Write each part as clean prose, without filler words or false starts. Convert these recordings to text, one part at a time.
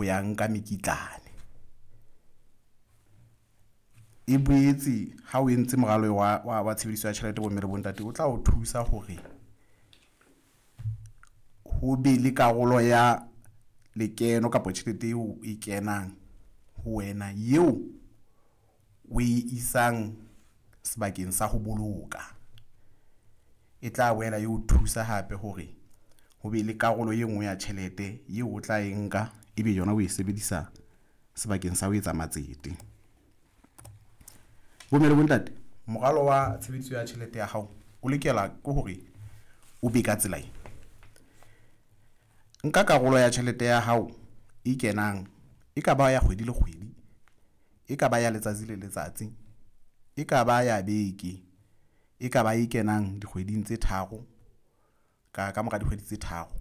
ho ya nka mekitlane. E boetse ha o entse moralo wa tshebediso ya tjhelete bomme le bontate, o tla o thusa hore ho be le karolo ya lekeno kapa tjhelete eo e kenang ho wena eo o e isang sebakeng sa ho boloka. E tla boela e o thusa hape hore ho be le karolo e nngwe ya tjhelete eo o tla e nka ebe yona o e sebedisa sebakeng sa ho etsa matsete. Bomme le bontate, moralo wa tshebediso ya tjhelete ya hao o lokela ke hore o be ka tsela ena. Nka karolo ya tjhelete ya hao e kenang, e ka ba ya kgwedi le kgwedi, e ka ba ya letsatsi le letsatsi, e ka ba ya beke, e ka ba e kenang dikgweding tse tharo ka mora dikgwedi tse tharo.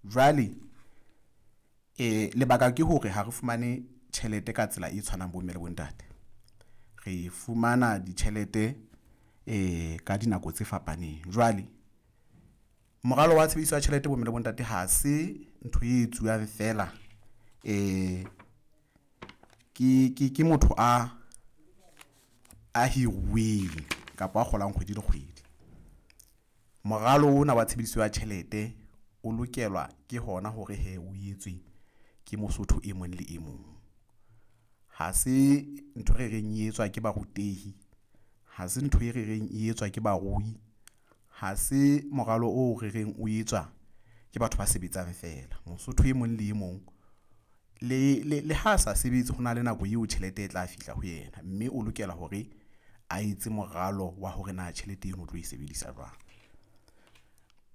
Jwale lebaka ke hore ha re fumane tjhelete ka tsela e tshwanang bomme le bontate. Re fumana ditjhelete ka dinako tse fapaneng. Jwale moralo wa tshebediso ya tjhelete bomme le bontate ha se ntho e etsuwang feela ke motho a hiruweng kapa a kgolang kgwedi le kgwedi. Moralo ona wa tshebediso ya tjhelete o lokelwa ke hona hore hee o etswe ke Mosotho e mong le e mong. Ha se ntho re reng e etswa ke barutehi, ha se ntho e re reng e etswa ke barui, ha se moralo oo re reng o etswa ke batho ba sebetsang feela. Mosotho e mong le e mong le ha sa sebetse ho na le nako eo tjhelete e tla fihla ho yena, mme o lokela hore a etse moralo wa hore na tjhelete eno o tlo e sebedisa jwang.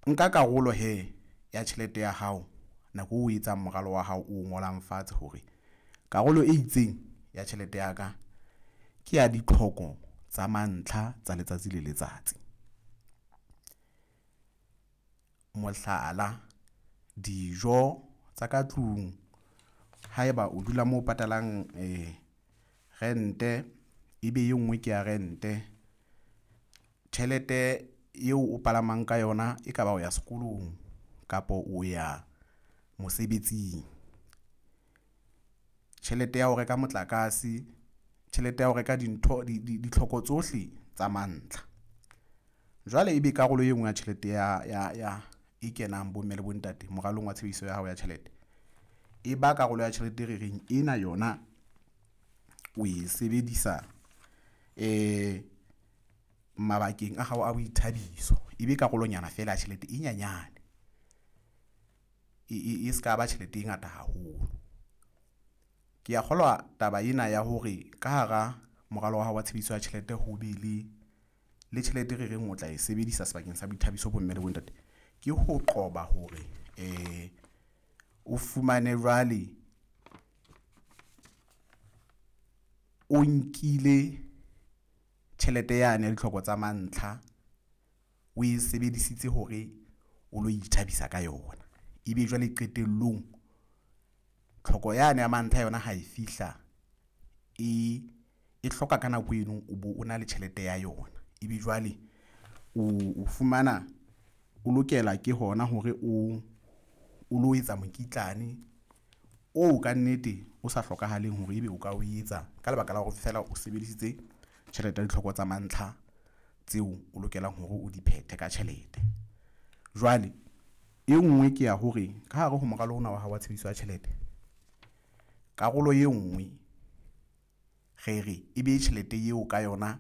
Nka karolo hee ya tjhelete ya hao nako o etsang moralo wa hao o ngolang fatshe hore karolo e itseng ya tjhelete ya ka ke ya ditlhoko tsa mantlha tsa letsatsi le letsatsi. Mohlala, dijo tsa ka tlung, haeba o dula moo patalang rente, ebe e nngwe ke ya rente. Tjhelete eo o palamang ka yona e ka ba o ya sekolong kapa o ya mosebetsing. Tjhelete ya ho reka motlakase, tjhelete ya ho reka dintho ditlhoko tsohle tsa mantlha. Jwale ebe karolo e nngwe ya tjhelete ya e kenang bomme le bontate moralong wa tshebediso ya hao ya tjhelete, e ba karolo ya tjhelete e re reng ena yona o e sebedisa mabakeng a hao a boithabiso. E be karolonyana feela ya tjhelete e nyenyane, e se ka ba tjhelete e ngata haholo. Ke a kgolwa taba ena ya hore ka hara moralo wa hao wa tshebediso ya tjhelete ho be le tjhelete re reng o tla e sebedisa sebakeng sa boithabiso bomme le bontate, ke ho qoba hore o fumane jwale o nkile tjhelete yane ya ditlhoko tsa mantlha, o e sebedisitse hore o lo ithabisa ka yona. Ebe jwale qetellong tlhoko yane ya mantlha yona ha e fihla e hloka ka nako eno o bo o na le tjhelete ya yona. Ebe jwale o fumana o lokela ke hona hore o lo etsa mokitlane oo ka nnete o sa hlokahaleng hore ebe o ka o etsa ka lebaka la hore feela o sebedisitse tjhelete ya ditlhoko tsa mantlha tseo o lokelang hore o di phethe ka tjhelete. Jwale e nngwe ke ya hore ka hare ho moralo ona wa hao wa tshebediso ya tjhelete, karolo e nngwe re re e be tjhelete eo ka yona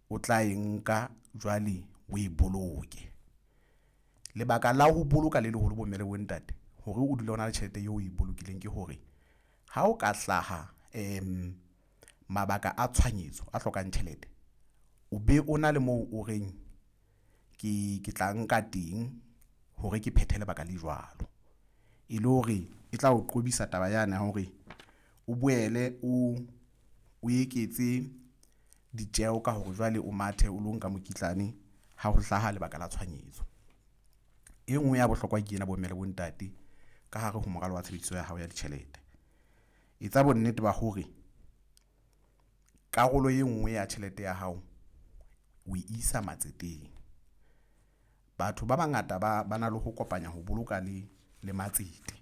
o tla e nka jwale o e boloke. Lebaka la ho boloka le leholo bomme le bontate hore o dule o na le tjhelete eo o e bolokileng ke hore ha o ka hlaha mabaka a tshohanyetso a hlokang tjhelete, o be o na le moo o reng ke tla nka teng hore ke phethe lebaka le jwalo. E le hore e tla o qobisa taba yane ya hore o boele o eketse ditjeho ka hore jwale o mathe o lo nka mokitlane ha ho hlaha lebaka la tshohanyetso. E nngwe ya bohlokwa ke ena bomme le bontate ka hare ho moralo wa tshebediso ya hao ya ditjhelete. Etsa bonnete ba hore karolo e nngwe ya tjhelete ya hao o e isa matseteng. Batho ba bangata ba na le ho kopanya ho boloka le matsete.